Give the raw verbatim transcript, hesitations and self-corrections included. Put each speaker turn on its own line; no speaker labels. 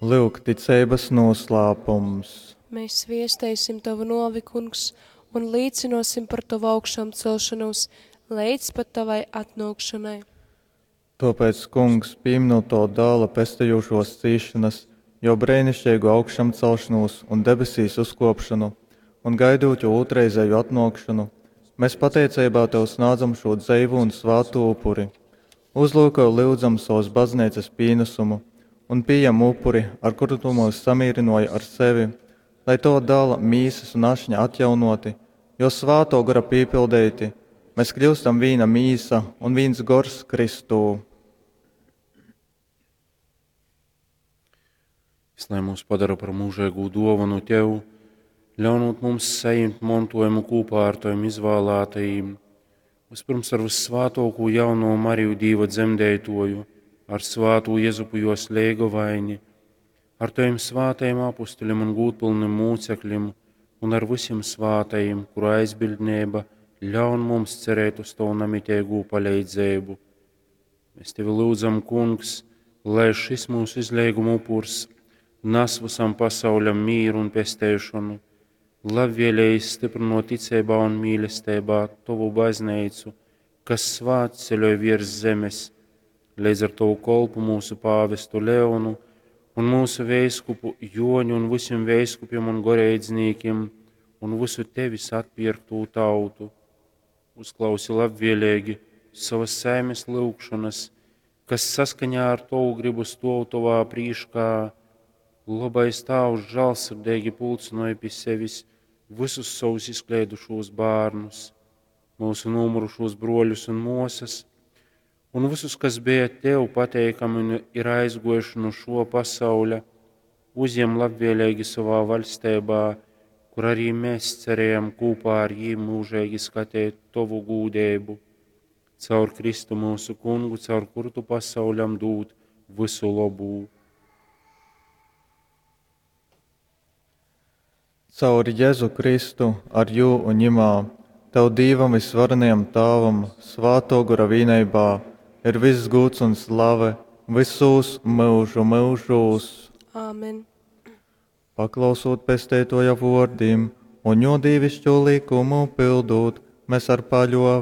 Lyuk ticeibas noslēpums.
Mēs viesteisim Tavu nuovi, Kungs, un līcinosim par Tavu augšāmcelšanos leidz pat Tavai atnōkšanai.
Tōpēc, Kungs, pīminūt Tova Dāla pestejušōs cīsšonas, jō breiniškeigu augšamcelšonūs un debesīs uzkōpšonu, un gaidūt jō ūtrreizēju atnōkšonu, mēs pateiceibā Tev snādzam šū dzeivū un svātū upuri. Uzlūkoj, lyudzam, sovas Bazneicas pīnasumu un pījem upuri, ar kuru Tu myus samīrynōji ar sevi, lai Tova Dāla mīsas un ašņa atjaunōti, jo Svātō Gora pīpildeiti, mēs kļūstam vīna mīsa un vīns gors Kristū.
Jis lai mūs padara par mūžīgū dōvanu Tev, ļaunot mums sajimt montojumu kopā ar Tavim izvēlētajiem, vispirms ar vyssvātōkū jauno Mariju Dīva dzemdeitoju, ar svātū Jezupu jos leigovaini, ar Tavim svātajiem apustuļiem un gūdpilnim mūcekļiem un ar visiem svātajiem, kuru aizbildnība ļaun mums cerēt uz Tavu namiteigū palīdzību. Mēs Tevi lūdzam, Kungs, lai šis mūsu izleiguma upurs nes visam pasauļam mīru un pesteišanu, labvēlīgi stiprinot ticībā un mīlestībā Tavu baznīcu, kas svētceļoj virs zemes, līdz ar Tavu kolpu mūsu pāvestu Leonu un mūsu veiskupu Joņu un visiem veiskupiem un goreidznīkiem un visu Tevis atpirktū tautu. Uzklausi labvēlīgi savas saimes lūgšanas, kas saskaņā ar Tavu gribu stov Tavā prīškā, labais Tēvs žēlsirdīgi pulcināja pie sevis visus savus izkleidušos bērnus, mūsu nomurušos broļus un mūsas, un visus, kas bija Tev pateikami un ir aizgojuši no šo pasauļa, uzņem labvēlīgi savā valstībā, kur arī mēs cerējam kopā ar jiem mūžīgi skatīt Tavu gūdību. Caur Kristu mūsu kungu, caur kuru Tu pasauļam dūd visu labū.
Caur Jēzu Kristu, ar jū un ņimā, Tev Dīvam visvarenajam Tāvam, Svātō Gora vīneibā, ir viss gūds un slave visūs myužu myužūs.
Āmen.
Paklausūt pesteitoja vōrdim un jō dīvišķū likumu pildūt, mēs ar paļōveibu